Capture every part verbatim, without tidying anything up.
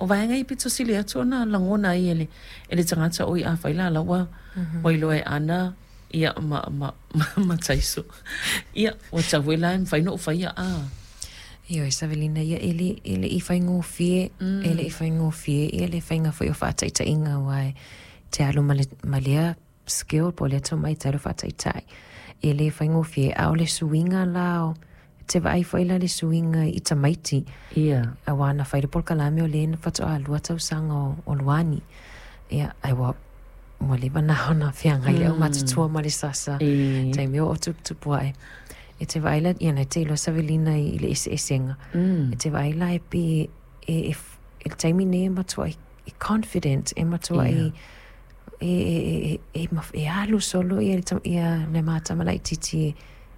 O vaega ia pito sili atu ona lagona ai e le e le tagata oi afai la la ua ua iloa e Ana ia ma ma ma, ma Taiso. Ia ua tatau foi la e mafai ona ou faia a. Ioe Savelina, ia e le e le'i faigofie, mm. e le'i faigofie ia le faiga foi o fa'ataʻitaʻiga ua e te alu ma le ma lea skill po o lea tomai te alu fa'ataʻitaʻi e lē faigofie a o le suiga la o te vaai foi la le suiga i tamaiti Ia. Auā na fai le polokalame o lē na fatoʻā lua tausaga o, o Luani ia ai ua ua leva na ona feagai le aumatutua ma le sasa E. taimi o o tuputupu aʻe e te vaai la ia na te iloa Savelina i le eseesega Mm. e te vaai la e pei e, e, e le taimi nei e matuaʻi e confident e matuaʻi Ia. e, e, e, e, e, e alu solo ia le, ia le matama laʻitiiti e,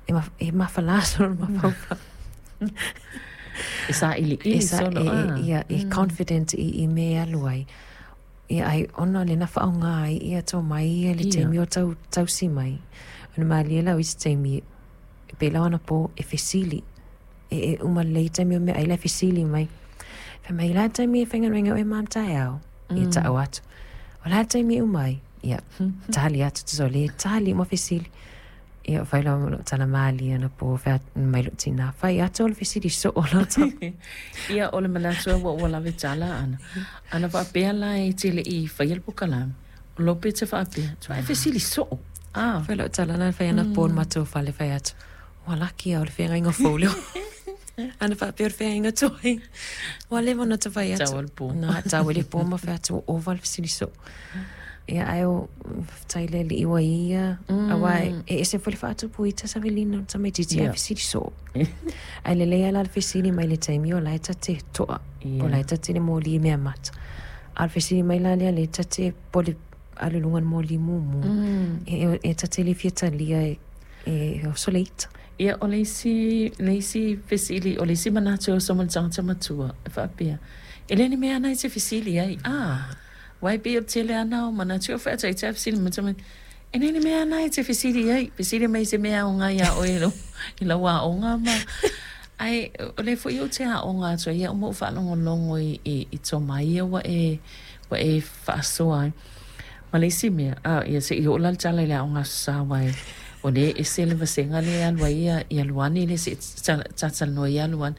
e, ma, e mafalā solo le mafaufau. E saʻiliʻili E sa, solo e, a. e, ia, e confident i, i me alu ai. Ia ai ona le na whaonga ai ia tō mai ia le Ia. taimi o tau, tausi mai. Ona malie lau i se taimi e pe lau ana po e fesili. E, e uma lei taimi o mea ai la fesili mai. Fai mai la taimi e whainga o e mam taeao. Ia ta'au atu. O la taimi e umai. Ia, tali atu te so le tali mo fesili. Ia, fai lau lo tala maali ana po whea mai lo tina. Fai atu o le fesili so o lo tau. Ia o le manatu ua ua lave tala ana. Ana faapea la e te leʻi faia le polokalame. O lo pe te faapea. Tuaʻi fesili soo. Ah. Fai lau tala na fai ana po matou fale fai atu. Ua laki au le feagaiga fou leo. Ana faapea o le feagaiga tuai. Ua leva ona tafai atu. Tau o le po. Na, tau e le po ma fai atu o ova le fesili soo. Ia ai o faafetai le alii ua ia. Auā e ese foi le faatupu ita Savelina o le tamaitiiti ae Ia. fesili soo. Ae lelei a la le fesili mai le taimi o la e tate toʻa. Po Ia. la e tate le moli mea mata. A o le fesili mai la lea le tate po le alu i luga le moli mumu. Mm. E, e, e tate le fia talia e, e o soleita. Ia o le isi le isi fesili o le isi manatu e oso ma le tagata matua e faapea. E le ni mea ana e te fesili ai. Ah. Uae pei o le tele ana o manatu o faataʻitaʻi fesili mai tama e le ni mea ana e te fesili ai. Fesili mai se mea aoga iā oe i lau i lau aoga ma ae o le foi ou te aoga atu ai ia uma ou faalogologo i i i tomai ia ua e ua e faasoa ai. Ma le isi mea, a ia seʻi oo la le tala i le aoga aso sa uae o lea e ese le vasega lea e alu ai ia ia Luani le seʻi talatalanoa ia Luani.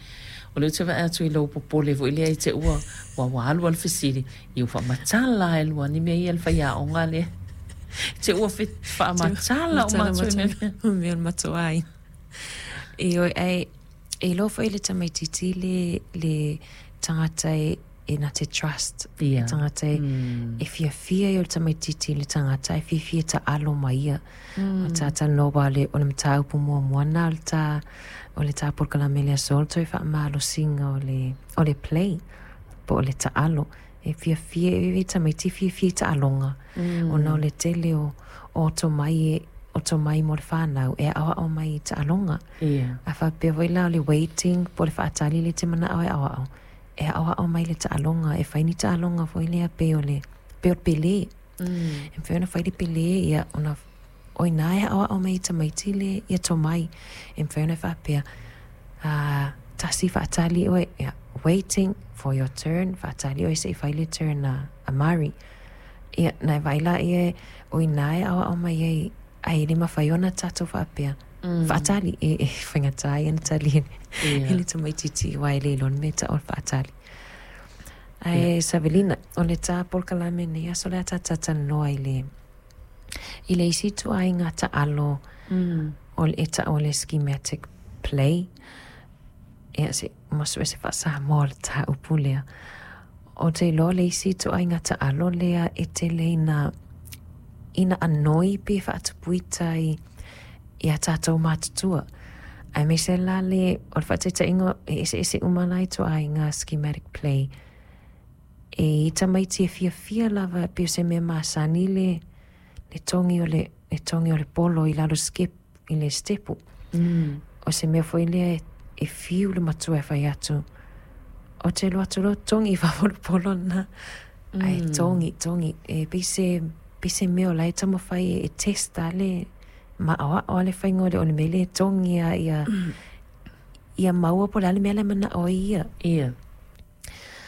O lea ou te vaai atu i lou popole foi lea i te ua ua ua alu a le fesili ia ua faamatala lava e Luani mea ia le faiaoga lea. Te ua faamatala uma atu i mea. Mea o le matoai. Ioe ae e iloa foi le tamaitiiti le le tagata e e na te trust. Ia. Tagata e, Mm. e fiafia ia o le tamaitiiti i le tagata e fiafia taʻalo ma ia. O tatalanoa ua le o le mataupu muamua na o le tā o le tā polokalame le aso o le toe faamalosiga o le o le play po o le taʻalo. E fiafia e tamaiti fiafia i taʻaloga. Mm. Ona o le tele o o tomai e o tomai mo le whānau e aoao mai i taʻaloga. Ia. A faapea foi la o le waiting po o le faatali le te manaʻo e aoao. E aoao mai le taʻaloga e fai ni taʻaloga foi lea pei o le pei o le pelē. Mm. E mafai ona fai le pelē ia ona o inā e aoao mai i tamaiti le ia tomai. E mafai ona faapea ah, tasi faatali oe ia, waiting for your turn faatali oe seʻi fai le turn a, a Mari. Ia na e vaai laia o inā e aoao mai ai ae le mafai ona tatou faapea. Mm. Faatali e, e faigata ai ona tali Ia. e le tamaitiiti uae le iloa le mea taʻu o le faatali. Ae Savelina, o le tā polokalame nei aso le a tatatalanoa i le i le isi ituaiga taʻalo Mm. o le e taʻu o le schematic play. Ia se ma sue se faasamoa o le tāupu lea. O te iloa le isi ituaiga taʻalo lea e tele ina ina anoi pe faatupuita i ia tatou matutua. Aemaise la le o le faataitaiga e eseese uma la ituaiga schematic play. E i tamaiti e fiafia lava pei o se mea masani le le togi o le le togi o le polo i lalo skip i le stepu. Mm. O se mea foi lea e, e fiu le matua e fai atu. O te alu atu loa togi i fafo le polo na. Ae Mm. togi, togi. E pei se, pei se mea o la e taumafai e, e testa le maʻaoaʻo a le faiga o le o le mea lea e togi a ia ia maua po o le a le mea la e manaʻo ai ia. Ia.